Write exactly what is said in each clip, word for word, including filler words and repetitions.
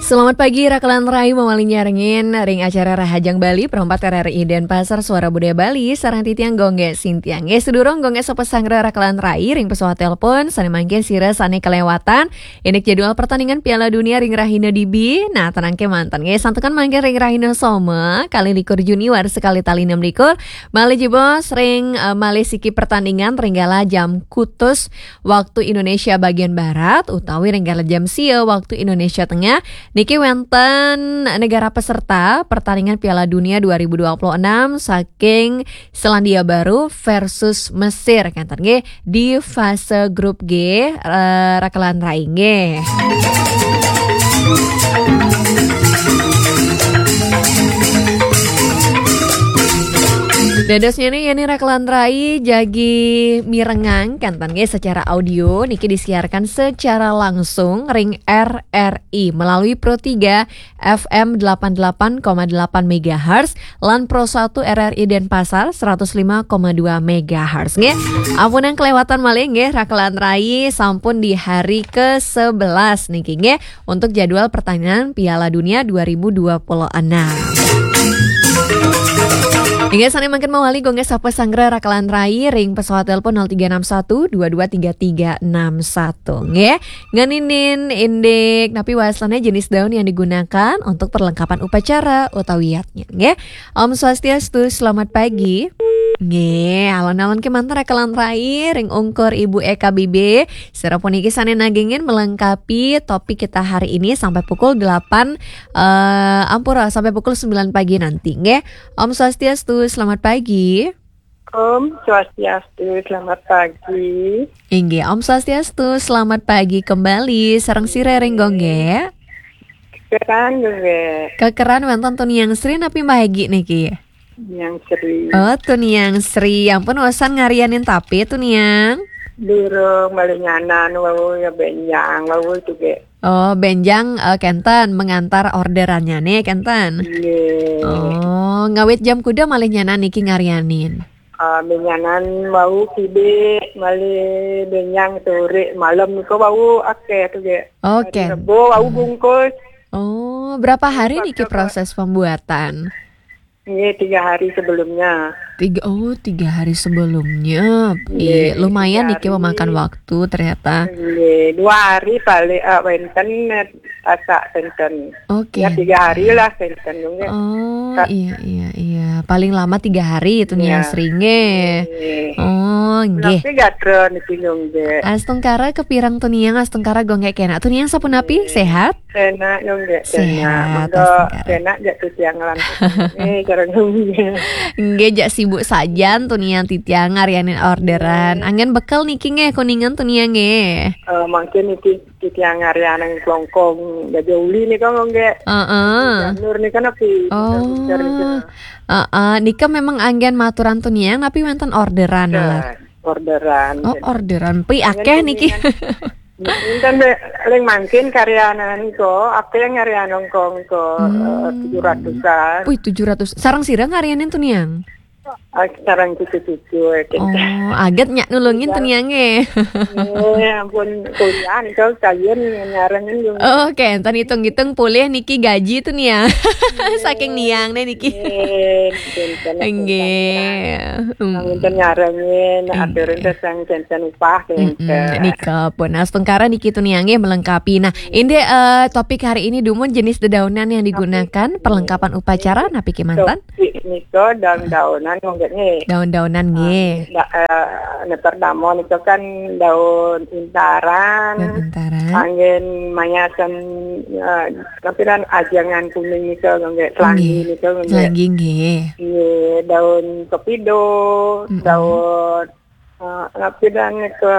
Selamat pagi, Rakelan Rai, mawali nyarengin ring acara Rahajeng Bali, perempat R R I Denpasar, Suara Budaya Bali, sareng titiang Gung Gé Sintiang. Nggih, sadurung Gung Gé sapa sanggra Rakelan Rai ring pesawat telepon, sané mangkin sira sané kelewatan indik jadwal pertandingan Piala Dunia ring rahina dibi. Nah, tenang kémanten. Nggih, santukan mangkin ring rahina Soma, kalih likur Juni, warsa kalih tali enam likur, malih jebos ring, eh, malih siki pertandingan ring kala jam kutus waktu Indonesia bagian Barat, utawi ring kala jam sia waktu Indonesia Tengah. Niki wénten negara peserta pertandingan Piala Dunia dua ribu dua puluh enam saking Selandia Baru versus Mesir, kénten nggih, di fase grup G, eh, Rakelan Rai nggih. Dadosnyané yén Rakelan Rai jagi mirengang, kénten nggih, secara audio niki disiarkan secara langsung ring R R I melalui Pro tiga F M delapan delapan koma delapan megahertz lan Pro satu R R I Denpasar seratus lima koma dua megahertz nggih. Ampun yang kelewatan malih nggih, Rakelan Rai sampun di hari ke sebelas niki nggih untuk jadwal pertandingan Piala Dunia dua ribu dua puluh enam. Hingga sané mangkin mawali Gung Gé sapa sanggra Rakelan Rai ring pesawat telepon nol tiga enam satu dua dua tiga tiga enam satu nggih. Ngeninin indik napi wastané jenis daun yang digunakan untuk perlengkapan upacara utawi yadnya nggih. Om Swastiastu, selamat pagi. Nggih, alon-alon kémanten Rakelan Rai ring ungkur Ibu E K B B. Sira puniki sané nagingin melengkapi topik kita hari ini sampai pukul delapan, eh, ampura, sampai pukul sembilan pagi nanti nggih. Om Swastiastu, selamat pagi. Om Swastiastu, selamat pagi. Inggih, Om Swastiastu, selamat pagi kembali. Sareng sira ring Gung Gé? Kekeran, Gung Gé. Kekeran wénten Tuniang Sri napi Mbah Egi niki? Tuniang Sri. Oh, Tuniang Sri. Ampun, usan ngaryanin tapi, Tuniang? Durung, malih nyanan wau ya, bénjang wau itu, Gé. Oh, bénjang, eh, kénten mengantar orderannya nih, kénten. Nggih. Oh, ngawit jam kuda malih nyanan niki ngaryanin? Ah, malih nyanan wau kidé, malih bénjang sore, malem niku wau akéh tuh, Gé. Oh, hari Rebo wau bungkus. Oh, berapa hari niki proses pembuatan? Nggih, tiga hari sebelumnya. Tiga, oh, tiga hari sebelumnya. Nggih, lumayan niki memakan waktu ternyata. Nggih, dua hari paling, eh, wénten, eh, masak wénten. Oke. Ya, tiga hari lah wénten, nggih. Oh, iya, iya, iya. Paling lama tiga hari itu Tuniang Sri nggih. Nggih. Oh, nggih. Tapi gatra niki, nggih. Astungkara kapireng Tuniang, astungkara Gung Gé kénak. Tuniang sapunapi, sehat? Enak, Gung Gé. Sehat, enak. Monggo astungkara. Enak jak titiang lan. Eh, cara nggih. Nggih, jak sibuk sajan Tuniang titiang ngaryanin orderan. Nggih. Anggén bekel niki nggih, Kuningan Tuniang nggih. Eh, mungkin niki titiang ngaryanin klongkong baja uli nika, nggih. Heeh. Janur nika napi? Oh. Heeh, nika memang anggén maturan Tuniang napi wénten orderan, Lar? Orderan. Oh, orderan. Pi akéh niki. Wénten, ring mangkin karyanan nika, akéh ngaryanin klongkong nika, eh, tujuh ratusan. Wih, tujuh ratus. Sareng sira ngaryanin Tuniang? Ah, sareng cucu-cucu, ya, gitu. Oh, aget nyak nulungin Tuniangé. Eh, ampun, kuliah nika kalian nyarengin, Gung. Oh, oke, enten hitung-hitung polih niki gaji Tuniang. Saking Niang nih niki. Nggih, nggih. Nggih. Nggih. Nggih. Enten nyarengin, aturin terus yang janten upah, gitu. Mm-mm. Nika pun. Nah, astungkara niki Tuniangé melengkapi. Nah, indik, eh, topik hari ini dumun jenis dedaunan yang digunakan, perlengkapan upacara, napi kémanten? Nika daun-daunan, nggih. Daun-daunan, nggih. Ah, da-, eh, anu pertama nika kan daun intaran. Daun intaran. Anggén mayasan, eh, napi ran ajangan kuning nika, nggih, selangi nika, nggih. Selangi, nggih. Nggih, daun kepido, daun, eh, napi ran nika,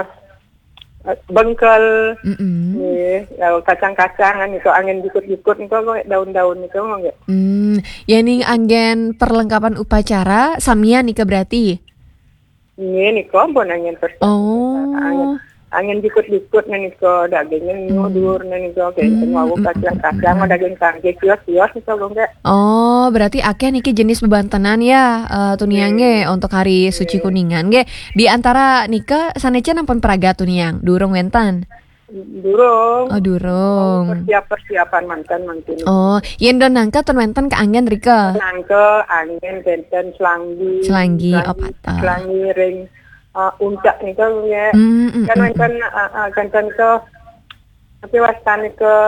eh, bengkel. Mm-mm. Nggih, daun kacang-kacangan nika, anggén jukut-jukut nika, nggih, daun-daun nika, nggih. Hmm, yéning anggén perlengkapan upacara, samian nika berarti? Nggih, nika ampun anggén perlengkapan upacara. Oh. Anggén, anggén jukut-jukut nika, dagingnya nyudur nika, kénten wau kacang-kacang, daging tangkis, kios-kios nika, nggih. Oh, berarti akéh niki jenis bebantenan ya, eh, Tuniang nggih, untuk hari suci Kuningan nggih. Di antara nika sané cén ampun pragat Tuniang, durung wénten? Durung. Oh, durung. Persiap-persiapan manten mangkin. Oh, yen don nangka ten wenten keanggen rika. Nangka angin benten selanggi. Selanggi, oh, patah. Selanggi ring uh, uncak nika nggih. Mm, mm, Kan mm, wenten uh, uh, kan wenten ke tapi wastane ke